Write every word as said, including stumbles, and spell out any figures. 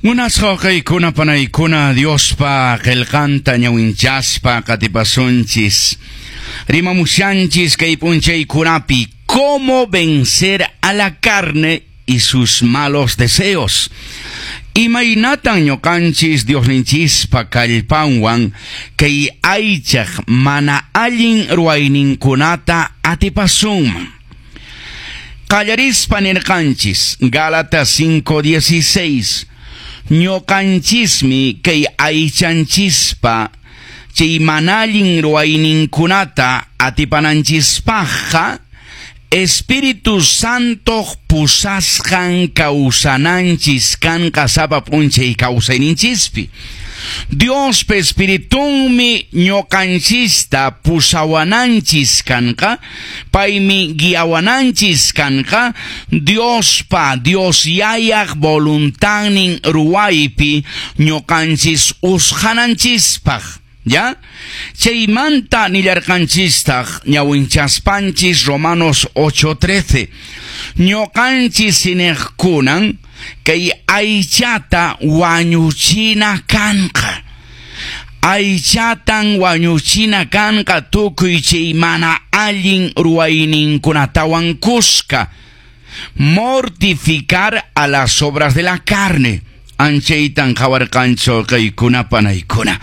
Munasqa wawqiykuna panaykuna, Diospa qillqanta ñawinchaspa qatipasunchis. Rimamushanchis kay p'unchaykunapi cómo vencer a la carne y sus malos deseos. Imaynatan ñuqanchis Diosninchispa kallpanwan kay aychaq mana allin ruwayninkunata atipasunman. Qallarispa nirqanchis Gálatas cinco dieciséis, ñuqanchismi kay aychanchispa chay mana allin ruwayninkunata atipananchispaqqa Espíritu Santo pusasqan kawsananchis kanqa sapa p'unchay kawsayninchispi. Diospa Espiritunmi ñuqanchista pusawananchis kanqa, paymi guiawananchis kanqa, Diospa, Dios Yayaq voluntadnin ruwaypi ñuqanchis usqhananchispaq. ¿Ya? Chaymanta nillarqanchistaq ñawinchaspanchis Romanos ocho trece. Ñuqanchis iñiqkunan kay aychata wañuchina kanqa. Aychatan wañuchina kanqa tukuy chay mana allin ruwayninkunatawan kuska. Mortificar a las obras de la carne. Anchaytan qhawarqanchik wawqiykuna panaykuna.